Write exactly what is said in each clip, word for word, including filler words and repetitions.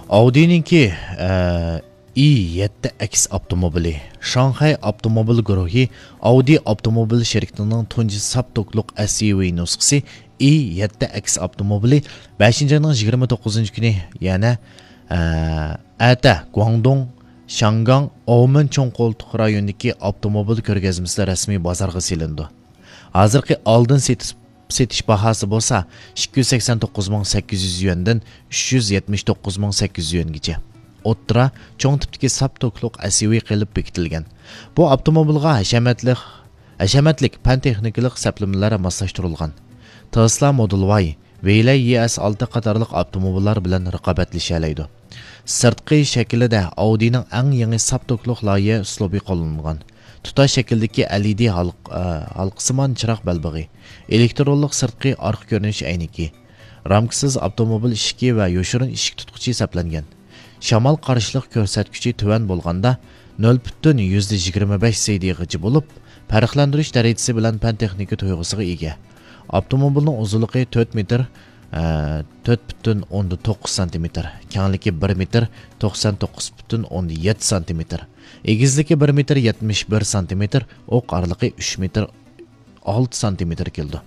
ئاۋدىنىڭكى، ئە، ئى يەتتە ئەكس ئاپتوموبىلى. شاڭخەي ئاپتوموبىل گۇرۇھى ئاۋدى ئاپتوموبىل شىركىتىنىڭ تۇنجى ساپ توكلۇق ئەس يۇ ۋى نۇسخىسى ئى يەتتە ئەكس ئاپتوموبىلى بەشىنچى ئاينىڭ يىگىرمە توققۇزىنچى كۈنى، يەنى، ئە، ئەتە گۇاڭدۇڭ، شياڭگاڭ، ئاۋمېن چوڭ قولتۇق رايونىدىكى ئاپتوموبىل كۆرگەزمىسىدە رەسمىي بازارغا سېلىنىدۇ. ھازىرقى ئالدىن سېتىش، سېتىش باھاسى بولسا ئىككى يۈز سەكسەن توققۇز مىڭ سەككىز يۈز يۈەندىن ئۈچ يۈز يەتمىش توققۇز مىڭ سەككىز يۈز يۈەنگىچە. ئوتتۇرا چوڭ تىپتىكى ساپ توكلۇق ئەس يۇ ۋى قىلىپ بېكىتىلگەن. بۇ ئاپتوموبىلغا ھەشەمەتلىك، ھەشەمەتلىك پەن تېخنىكىلىق سەپلىمىلەر ماسلاشتۇرۇلغان. تېسلا مودېل ۋاي، ۋېيلەي يى ئەس ئالتە قاتارلىق ئاپتوموبىللار بىلەن رىقابەتلىشەلەيدۇ. سىرتقى شەكلىدە ئاۋدىنىڭ ئەڭ يېڭى ساپ توكلۇق لايىھە ئۇسلۇبى قوللىنىلغان. تۇتاش شەكىلدىكى ئەل ئى دى ھالق-، ئە، ھالقىسىمان چىراغ بەلبېغى، ئېلېكترونلۇق سىرتقى ئارقا كۆرۈنۈش ئەينىكى، رامكىسىز ئاپتوموبىل ئىشىكى ۋە يوشۇرۇن ئىشىك تۇتقۇچى سەپلەنگەن. شامال قارشىلىق كۆرسەتكۈچى تۆۋەن بولغاندا، نۆل پۈتۈن يۈزدە يىگىرمە بەش سى دى غىچى بولۇپ، پەرقلەندۈرۈش دەرىجىسى بىلەن پەن تېخنىكا تۇيغۇسىغا ئىگە. ئاپتوموبىلنىڭ ئۇزۇنلۇقى تۆت مېتىر، ئە، تۆت پۈتۈن ئوندىن توققۇز سانتىمېتىر، كەڭلىكى بىر مېتىر، توقسان توققۇز پۈتۈن ئوندىن يەتتە سانتىمېتىر، ئېگىزلىكى بىر مېتىر، يەتمىش بىر سانتىمېتىر، ئوق ئارىلىقى ئۈچ مېتىر، ئالتە سانتىمېتىر كېلىدۇ.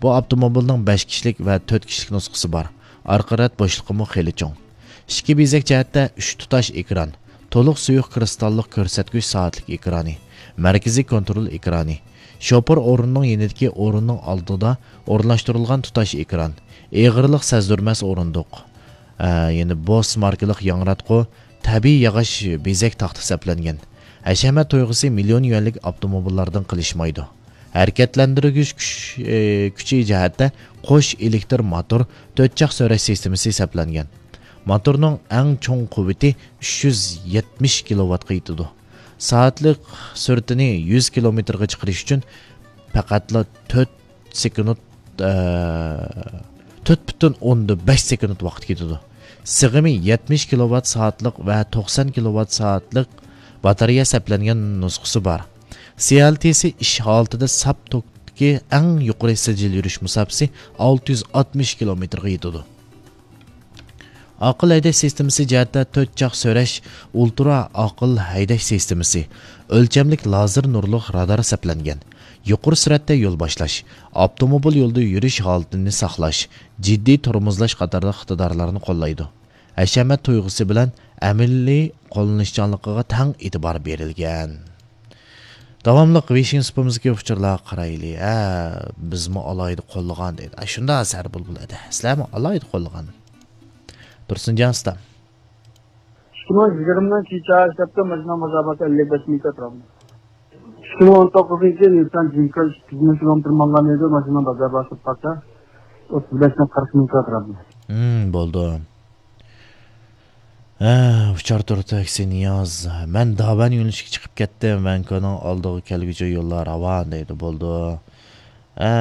بۇ ئاپتوموبىلنىڭ بەش كىشىلىك ۋە تۆت كىشىلىك نۇسخىسى بار. ئارقا رەت بوشلۇقىمۇ خېلى چوڭ. ئىچكى بېزەك جەھەتتە ئۈچ تۇتاش ئېكران، تولۇق سۇيۇق كىرىستاللىق كۆرسەتكۈچ سائەتلىك ئېكرانى، مەركىزىي كونترول ئېكرانى، شوپۇر ئورنىنىڭ يېنىدىكى ئورۇننىڭ ئالدىدا ئورۇنلاشتۇرۇلغان تۇتاش ئېكران، ئېغىرلىق سەزدۈرمەس ئورۇندۇق، ئە، يەنى بوس ماركىلىق ياڭراتقۇ، تەبىئىي ياغاچ بېزەك تاختا سەپلەنگەن. ھەشەمەت تۇيغۇسى مىليون يۈەنلىك ئاپتوموبىللاردىن قېلىشمايدۇ. ھەرىكەتلەندۈرگۈچ كۈچ، ئى، كۈچى جەھەتتە قوش ئېلېكتر موتور، تۆت چاق سۆرەش سىستېمىسى سەپلەنگەن. موتورنىڭ ئەڭ چوڭ قۇۋۋىتى ئۈچ يۈز يەتمىش كىلوۋاتقا يېتىدۇ. سائەتلىك سۈرئىتىنى يۈز كىلومېتىرغا چىقىرىش ئۈچۈن پەقەتلا تۆت سېكۇنت، ئە، تۆت پۈتۈن ئوندىن بەش سېكۇنت ۋاقىت كېتىدۇ. سىغىمى يەتمىش كىلوۋات سائەتلىك ۋە توقسان كىلوۋات سائەتلىك باتارېيە سەپلەنگەن نۇسخىسى بار. سى ئەل تى سى ئىش ھالىتىدە ساپ توكتىكى ئەڭ يۇقىرى سىجىل يۈرۈش مۇساپىسى ئالتە يۈز ئاتمىش كىلومېتىرغا يېتىدۇ. ئاقىل ھەيدەش سىستېمىسى جەھەتتە تۆت چاق سۆرەش، ئۇلترا ئاقىل ھەيدەش سىستېمىسى، ئۆلچەملىك لازېر نۇرلۇق رادار سەپلەنگەن. يۇقىرى سۈرئەتتە يول باشلاش، ئاپتوموبىل يولىدا يۈرۈش ھالىتىنى ساقلاش، جىددىي تورمۇزلاش قاتارلىق ئىقتىدارلارنى قوللايدۇ. ھەشەمەت تۇيغۇسى بىلەن ئەمەلىي قوللىنىشچانلىقىغا تەڭ ئېتىبار بېرىلگەن. داۋاملىق ۋېيشىن سۇپىمىزدىكى ئۇچۇرلارغا قارايلى. ھە، بىزمۇ ئالاھىدە قوللىغان دەيدۇ. ئە، شۇنداق ھەسەر بولغىلى ئەدە. سىلەرمۇ ئالاھىدە قوللىغان. تۇرسۇنجان ئۇستام. ئىككى مىڭ يىگىرمىنىڭ كېچە ئىشلەپتۇ، ماشىنا بازار باھاسى ئەللىك بەش مىڭ كاترام. ئىككى مىڭ ئون توققۇزىنچى يىل نىسسان جىنكا ئىككى يۈز مىڭ كىلومېتىر ماڭغان ئىدى، ماشىنا بازار باھاسى پاكا ئوتتۇز بەش مىڭ قىرىق مىڭ كاترام. ھىم، بولدى. ھە، ئۇچار تۇرتى ئەكسى نىياز. مەن داۋەن يۆنىلىشىگە چىقىپ كەتتىم. ۋەنكونىڭ ئالدىغا كەلگۈچە يوللار راۋان دەيدۇ. بولدى. ھە،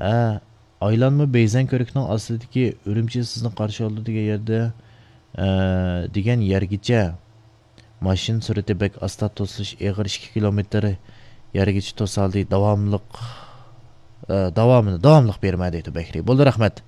ھە. ئايلانما بېيزەن كۆۋرۈكىنىڭ ئاستىدىكى ئۈرۈمچى سىزنى قارشى ئالىدۇ دېگەن يەردە، ئە، دېگەن يەرگىچە ماشىنا سۈرئىتى بەك ئاستا توسۇلۇش ئېغىر ئىككى كىلومېتىر يەرگىچە توسالدى. داۋاملىق، ئە، داۋامىنى، داۋاملىق بېرىمەن دەيدۇ بەكرى. بولدى، رەھمەت.